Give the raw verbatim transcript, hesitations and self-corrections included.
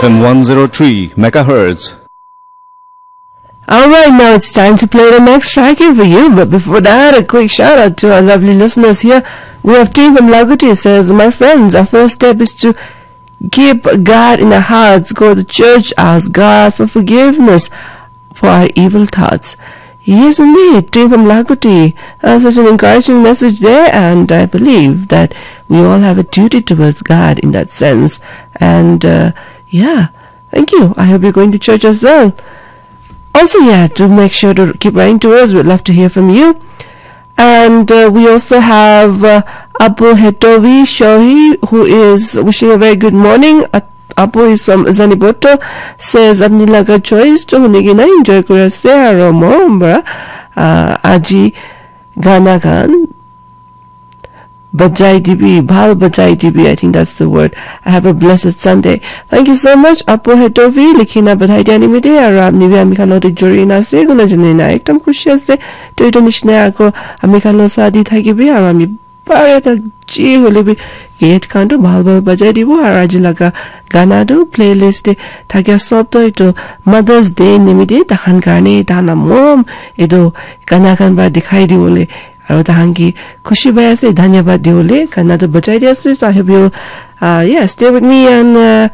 And one zero three megahertz. All right, now it's time to play the next track here for you. But before that, a quick shout out to our lovely listeners here. We have Team from Laguti says, "My friends, our first step is to keep God in our hearts, go to church, ask God for forgiveness for our evil thoughts." Yes, indeed, Team from Laguti. Uh, such an encouraging message there, and I believe that we all have a duty towards God in that sense. And uh, yeah, thank you. I hope you're going to church as well. Also, yeah, do make sure to keep writing to us. We'd love to hear from you. And uh, we also have uh, Apu Hetovi Shohi, who is wishing a very good morning. At- Apu is from Zaniboto, says, "Apni laga choice to huni kina enjoy kuri ase aro morom para uh, aji gana khan bajai dibi, bhal bajai dibi." I think that's the word. "I have a blessed Sunday." Thank you so much, Apu Hetovi, likhina bathai dia nimite, aro apni bi ami khan lote jori na ase, kuna jane na ekdam khushi ase. To ito nishina ako ami khan lo sathi thakibi, aro ami bare ta ji hole bi gate khan to bhal bhal bajai dibo, aro aji laga gana to playlist te thakia sob to ito Mother's Day nimite takhan karne tana morom ito gana khan ba dikhai dibole aro tahan ki khushi pai ase, dhanyabad diwole gana to bajai di ase. So I hope you uh, yeah, stay with me and uh,